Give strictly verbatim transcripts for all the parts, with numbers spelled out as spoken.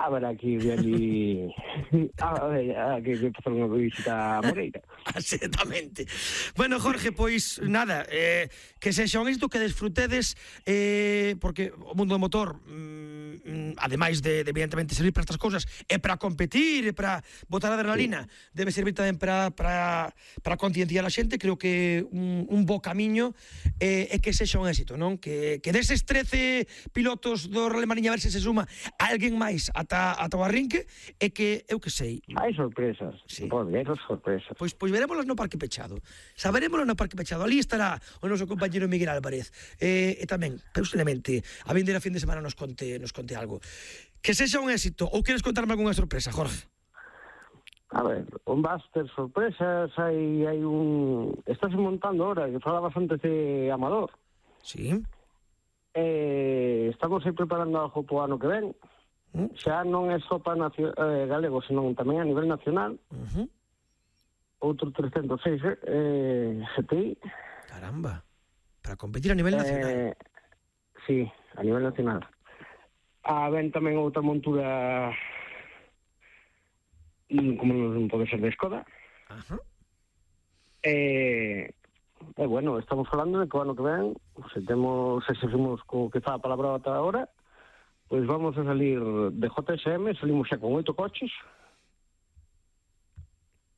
A ver, aquí ali a ver, aquí que pasar unha visita a Moreira. Exactamente. Bueno, Jorge, pois nada, eh, que sexa un éxito, que desfrutedes, eh, porque o mundo do motor, mm, ademais de, de evidentemente servir para estas cousas, é para competir, é para botar adrenalina, sí. Debe servir tamén para para para concienciar a xente. Creo que un, un bo camiño é, é que sexa un éxito, non? Que, que deses trece pilotos do Rally Mariña, a ver se se suma alguén máis ata, ata o arrinque, é que, eu que sei... Hai sorpresas, sí. Pode haber sorpresas. Pois, pois verémolas no Parque Pechado. Saberémolas no Parque Pechado. Ali estará o noso compañero Miguel Álvarez. E, e tamén, posiblemente, a vindeira fin de semana nos conte, nos conte algo. Que sexa un éxito, ou queres contarme algunha sorpresa, Jorge? A ver, un Baster sorpresas, hai, hai un... Estás montando ahora, que falabas antes de Amador. Sí. Eh, estamos aí preparando algo po ano que ven. Uh-huh. Xa non é só para nacio- eh, galego, senón tamén a nivel nacional. Uh-huh. Outro trescentos seis eh, G T I. Caramba, para competir a nivel nacional. Eh, sí, a nivel nacional. A ven tamén outra montura como non pode ser de Skoda. Ajá. Eh, e eh, bueno, estamos falando de que o ano que ven, se temos, se seguimos co que está a palabra ata agora, pois vamos a salir de J S M, salimos xa con oito coches,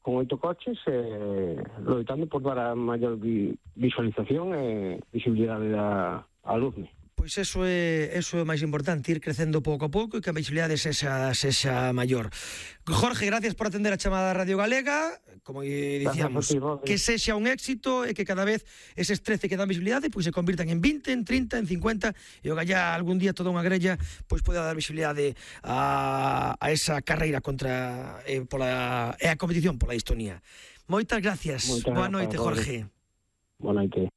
con oito coches, eh, loitando por dar a maior vi, visualización e visibilidade da alumne. Pois eso é, eso é máis importante, ir crecendo pouco a pouco e que a visibilidade sexa, sexa maior. Jorge, gracias por atender a chamada da Radio Galega. Como dicíamos, ti, que sexa un éxito e que cada vez eses trece que dan visibilidade pois se convirtan en vinte, en trinta, en cincuenta e o gallá algún día toda unha grella pois poida dar visibilidade a, a esa carreira contra eh, pola, e a competición pola Estonia. Moitas gracias. Moitas Boa noite, Jorge. Boa noite.